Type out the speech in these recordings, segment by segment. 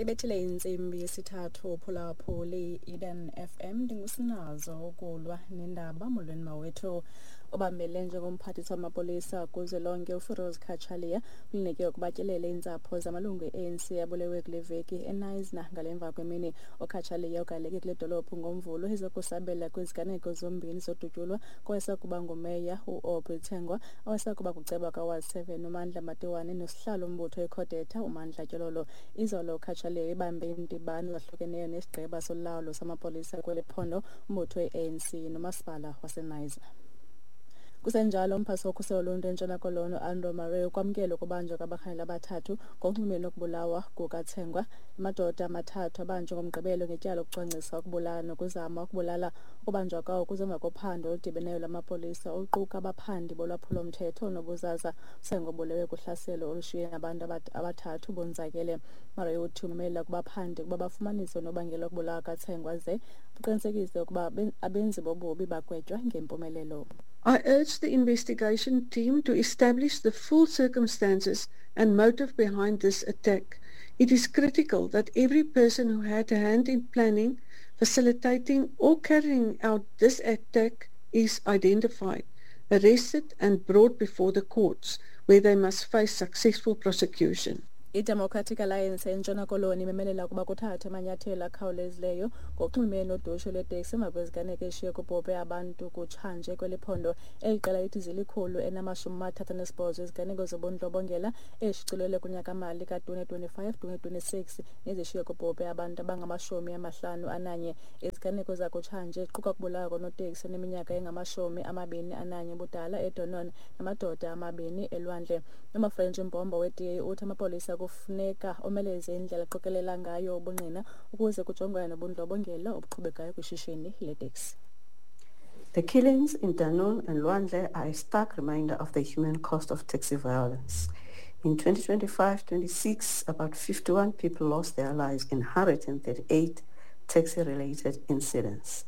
Ibethile intsimbi yesithathu. Phulaphuli, Eden FM, ndingusinazo ukulwa nendaba. Molweni mawethu. Obambele njengomphathiswa wamapolisa kuzwelonke uFiroz Cachalia ulineke ukuba atyelele iintsapho zamalungu e-ANC abulewe kule veki eKnysna ngale mva kwemini. UCachalia ugaleke kule dolophu ngoMvulo ezokusabela kwiziganeko zombini zodutyulwa kowayesakuba ngumeya uAubrey Tsengwa, owayesakuba kuceba kaWard 7 uMandla Matiwane nosihlalo umbutho iCodeta uMandla Tyololo. Izolo uCachalia ibambe iindibano ezahlukeneyo nesigqeba solawulo samapolisa kweli phondo, umbutho we-ANC nomasipala waseKnysna. Kusenjalo, umphathi wokhuselo loluntu eNtshona Koloni uAndrew Murray ukwamkele ukubanjwa kwabarhanelwa abathathu ngokunxulumene nokubulawa kukaTsengwa. Amadoda amathathu abanjwe ngoMgqibelo ngetyala lokucwangcisa ukubulala nokuzama ukubulala. Ukubanjwa kwawo kuze emva kophando oludibeneyo lwamapolisa oluquka abaphandi bolwaphulo-mthetho nobuzaza. UTsengwa ubulewe kuhlaselo olushiye abantu abathathu bonzakele. Murray uthi umemelela kubaphandi ukuba bafumanise unobangela wokubulawa kaTsengwa ze baqinisekise ukuba abenzi bobubi bagwetywa ngempumelelo. I urge the investigation team to establish the full circumstances and motive behind this attack. It is critical that every person who had a hand in planning, facilitating or carrying out this attack is identified, arrested and brought before the courts, where they must face successful prosecution. I-Democratic Alliance eNtshona Koloni imemelela ukuba kuthathwe amanyathelo akhawulezileyo ngokunxulumene nodushe lweteksi emva kweziganeko eshiye kubhubhe abantu kutshanje kweli phondo. Eli qela lithi zili-138 iziganeko zobundlobongela ezishicilelwe kunyakamali ka-2025-2026 nezishiye kubhubhe abantu abangama-51. Iziganeko zakutshanje ziquka ukubulawa konoteksi oneminyaka engama-21 ubudala eDunoon namadoda amabini eLwandle. UMafrench Mbombo we-DA uthi amapolisa kufuneka omeleze indlela aqokelela ngayo ubungqina ukuze kujongwane nobundlobongela obuqhubekayo kwishishini leteksi. The killings in Dunoon and Lwandle are a stark reminder of the human cost of taxi violence. In 2025-26, about 51 people lost their lives in 138 taxi-related incidents.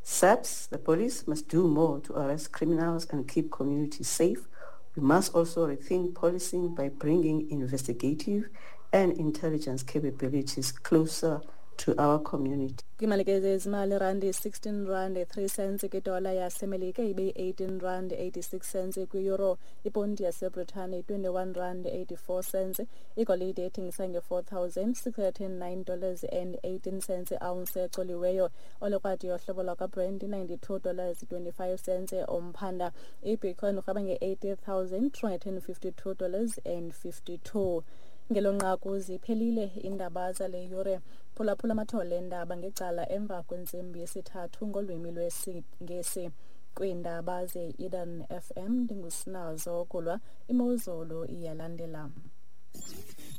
SAPS, the police, must do more to arrest criminals and keep communities safe. We must also rethink policing by bringing investigative and intelligence capabilities closer to our community. Kwimalike zezimali, irandi 16 rand 3 cents kwidola yaseMelika, ibe yi-18 rand 86 cents kwi-euro, iponti yaseBritane 21 rand 84 cents, igolide ethengisa nge-$4,609 and 18 cents i-ounce ecoliweyo, olekrwada yohlobo lwakwaBrent $92 25 cents umphanda, ibitcoin urhweba nge-$80,352 and 52. Ngelo nqaku ziphelile iindaba zale yure. Phulaphula amathole endaba ngecala emva kwentsimbi yesithathu ngolwimi lwesiNgesi. Kwiindaba ze-Eden FM, ndingusinazo kulwa. Imozulu iyalandela.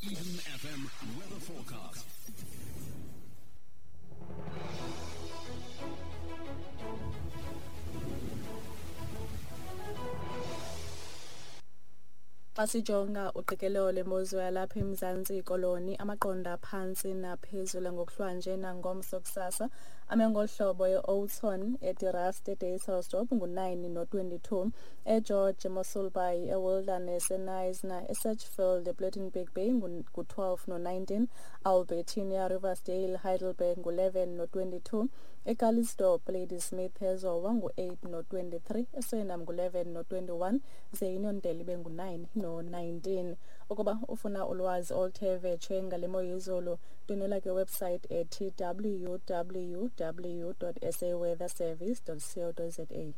Eden FM weather forecast. Xa sijonga uqikelelo lwemozulu yalapha eMzantsi Koloni, amaqondo aphantsi naphezulu ngokuhlwanje nangomso kusasa ame ngolu hlobo: e-Oudtshoorn, eDe Rust, eDysselsdorp ngu-9 no-22, eGeorge, eMossel Bay, eWilderness, eKnysna, eSedgefield, ePlettenberg Bay ngu-12 no-19, Albertinia, Riversdale, Heidelberg ngu-11 no-22, eCalitzdorp, Ladysmith, eZowa ngu-8 no-23, eSwellnum ngu-11 no-21, ze iUniondale ibe ngu-9 no-19. Ukuba ufuna ulwazi oluthe vetshe ngale mo yezulu, ndwendwela kwiwebsite ethi www.saweatherservice.co.za.